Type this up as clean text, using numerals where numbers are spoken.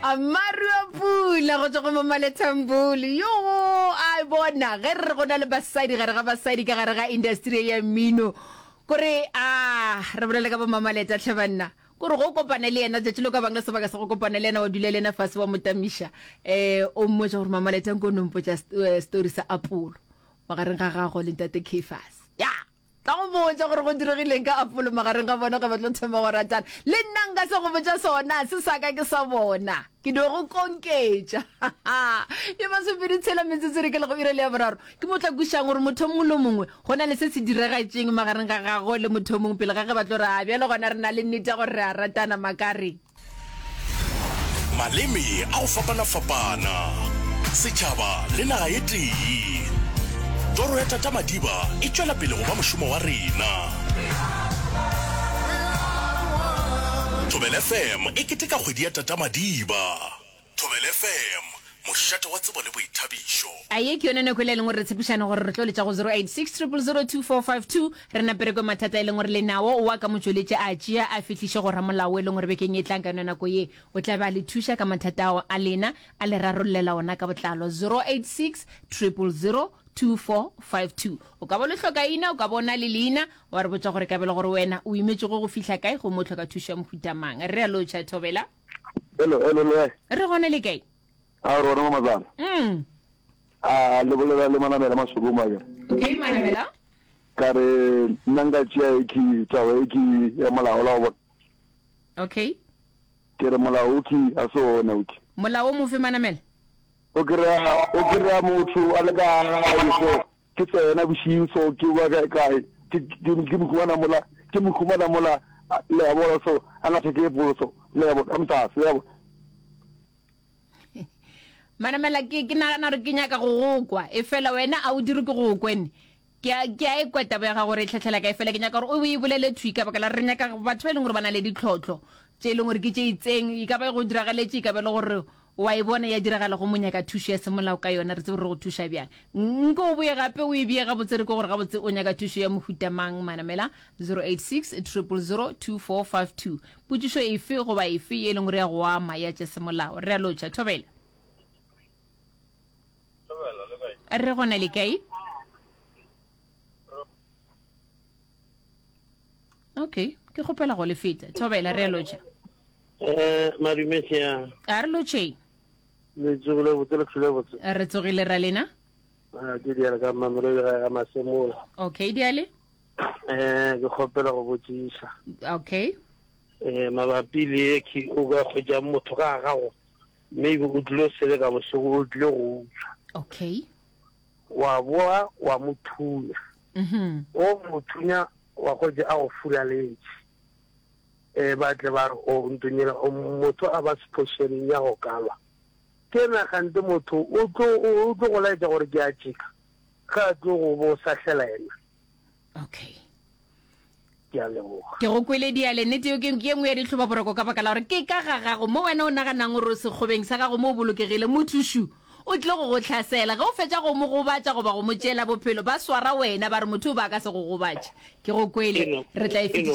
Maru a pula go tšwa go Mamale Thambuli. Yo a bona ge re re go na le basadi gare ga basadi ka gare ga industry ya mmino. Kore a re bolele ka bo Mamaleta tlhe banna. Kore go kopane le yena tšatši le ka bang le sebaka sa go kopana le yena wa dula le yena fase wa motamiša eh o mmotša gore Mamaleta nko no mpotša eh, story sa Apollo magareng ga gago le ntate Caiphus. Ya Tla go botša gore go diregileng ka Apollo magareng ga bona ge ba tlo thoma go ratana. Le nna nka se go botša sona, se sa ka ke sa bona. Ke no go konketša. Ye masomepedi tshela metsotso re ke le go ira le ya boraro. Ke mo tla kwišang gore motho o mongwe le o mongwe go na le se se diragatšeng magareng ga gagwe le motho o mongwe pele ga ge ba tlo re a bjale gona re na le nnete ya gore re a ratana makareng. Maleme a go fapana-fapana, setšhaba le naga e tee. Toro ya Tata Madiba e tšwela pele go ba mošomo wa rena. Thobela FM e keteka kgwedi ya Tata Madiba. Thobela FM, mošate wa tsebo le boithabišo. A ye ke yone nako e le e leng gore re tshepišane gore re tlo letša go 086 000 2452 re nape re kwe mathata e leng gore le nawo wa ka motšweletši a tšea a fihliše go ramolao e leng gore bekeng e tlang ka yone nako ye o tla be a le thuša ka mathata ao a lena a le rarollela ona ka botlalo 086 000 2452 o ka bo le hloka ina o ka bo na le leina wa re botša gore ka bele gore wena o imetšego go fihla kae gomme o hloka thušo ya mohuta mang re a lotšha thobela Hello, hello, le kae? Re gona le kae? A re gona mamazana. Mm. A le bolela le manamela masoko mo akere. Okay, manamela. Ka re nna nka tšea e ke taba e ke ya molao la go bona. Okay. Ke re molao o ke a se ona o ke. Molao o mofe manamela? O kry-a o kry-a motho a le ka gae so ke tsena bošing so ke ba kae kae ke ke ke mo humana mola ke mo humana mola le a bona so a ngatha ke polo so le a bona ka motase le a bona. Manamela ke ke nagana gore ke nyaka go go kwa e fela wena a o dire ke go kwene ke a ke a e kwa taba ya gago gore e tlhatlhela kae fela ke nyaka gore o e bolele thwi ka baka la re nyaka batho ba e leng gore ba na le ditlhotlho tše e leng gore ke tše itseng e ka ba e go diragaletše e ka ba e le gore Wa e bona ya diragala go mo nyaka thušo ya semolao ka yona, re tsebe re go thuša bjang. Nko o boye gape o e bee gabotse re kwe gore gabotse o nyaka thušo ya mohuta mang. Manamela 086 000 2452. Potšišo efe goba efe ye e leng gore ya go ama ya tša semolao. Re a lotšha. Thobela. Thobela, le kae? Re gona le kae? Okay, ke kgopela go le feta. Thobela, re a lotšha. Eh, madume sia. A re lotšheng. Le tsogile botse le tlhole botse. Re tsogile ra lena. Ah, ke diale ka Mamelodi ga ga Masemola. Okay, diale. Eh, ke kgopela go botšiša. Okay. Eh, mabapi le ke o ka hwetša motho ka gago maybe o tlile seleka bošego o tlile go utswa. Okay. Wa boa wa mo thunya. Mhm. O mo thunya wa hwetša a go furaletše. E, ba tle ba re, O ntunyela, o motho a ba sephošeneng ya go kalwa. Ke na kgante motho o tlo, o tlo go laetša gore ke a tšeka, ge a tlo go bo sahlela yena. Okay. Ke a leboga. Ke go kwele diale, nnete yo ke ye nngwe ya ditlhobaboroko ka baka la gore ke ka ga gago mo wena o naganang gore o sekgobeng sa gago mo o bolokegile, motho šu o tlile go go hlasela. Ge o fetša go mo gobatša goba go mo tšeela bophelo, ba swara wena ba re motho o ba ka se go gobatše. Ke go kwele, re tla e fetiša.